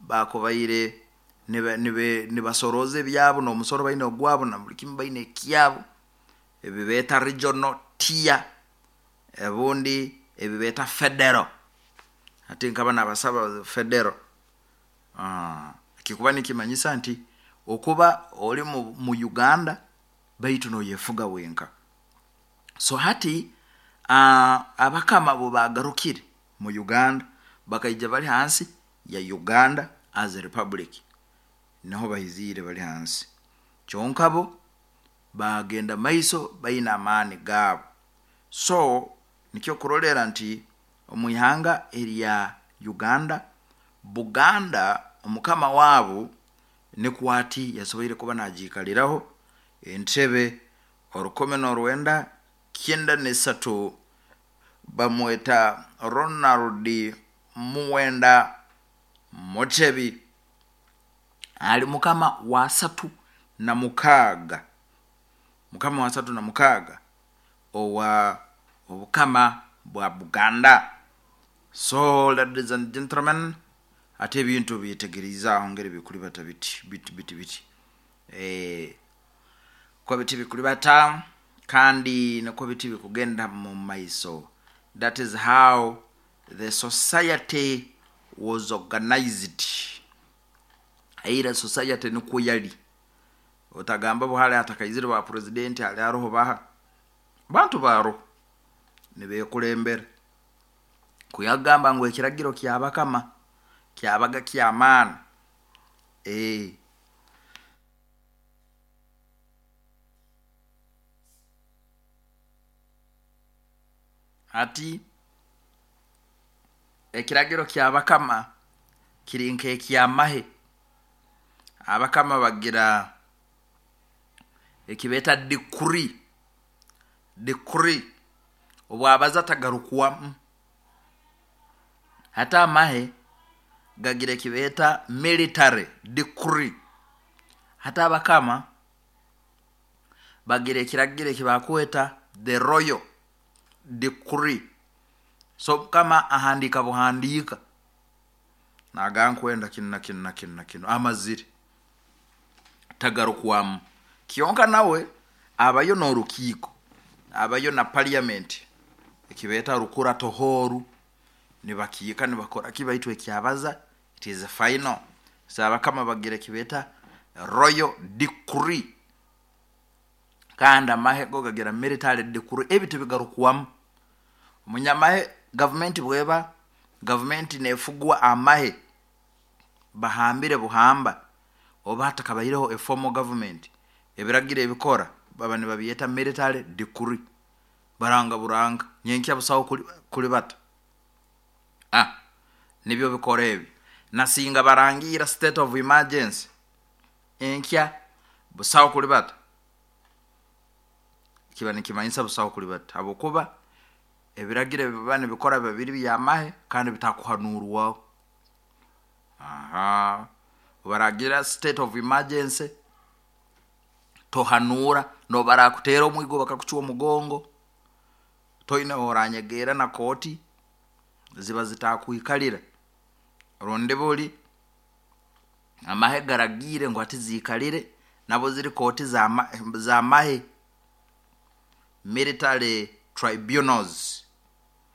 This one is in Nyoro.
Bakubaire nibasorooza ebyabo, n'omusoro baine ogwabo, na buli kimu baine ekyabo, ebi beeta regional tier, obundi ebi beeta federal. Hati nkaba nabasaba federal. Kikuba nikimanyisa nti okuba oli mu Uganda baitu noyefuga wenka. So hati abakama obu baagarukire mu Uganda, bakaija bali hansi ya Uganda as a republic, niho baiziire bali hansi. Kyonka bo baagenda maiso baine amaani gaabo. So nikyo okurolera nti omu ihanga erya Uganda, Buganda omukama waabu nikwo ati yasoboire kuba nagiikaliraho entebe 1993, bamweta Ronald Muwenda Mutebi, ali mukama wa 36, mukama wa 36 owa obukama bwa Buganda. So ladies and gentlemen, hati ebintu byetegeriize aho ngeri bikulibata biti biti biti biti, ko biti bikulibata kandi nikwo biti bikugenda mu maiso. That is how the society was organized. Eira society nikwo yali. Otagamba bu hali hatakaizire ba president, hali haroho baha? Bantu baroho nibekulembera. Kuyagamba ngu ekiragiro kyabakama kyabaga kyamaani. Hati ekiragiro kyabakama kiri nk'ekyamahe. Abakama bagira ekibeeta decree, decree obu abaza tagarukwamu. Hati amahe gagira ekibeeta military decree. Hati abakama bagira ekiragiro eki bakweta the royal decree. So omukama ahandiika buhandiika nagamba nkwenda kinu na kinu na kinu na kinu, amazire tagarukwamu. Kyonka nawe abayo n'orukiiko, abayo na parliament, ekibeeta rukura tohoru, nibakiika nibakora ki, baitu ekyabaza it is final. So abakama bagira ekibeeta royal decree, kandi amahe go gagira military decree, ebi tibigarukwamu. Omunyamahe gavumenti bweba gavumenti nefugwa amahe, bahambire buhamba, oba hatakabaireho a formal government, ebiragiro ebikora baba nibabyeta military decree, baranga buranga nyenkya busaho kulibata. Nibyo bikora ebi. Nasinga barangiira state of emergency, enkya busaho kulibata, kiba nikimanyisa busaho kulibata habwokuba ebiragiro ebiba nibikora biba biri by'amahe kandi bitakuhanuurwaho. Baragira state of emergency, tohanuura, n'obu barakuteera omwigo bakakucwa omugongo, toine h'oranyegerra na kooti ziba zitakwikalira, rundi buli amahe garagiire ngu hati ziikalire, nabo ziri kooti z'amahe, military tribunals.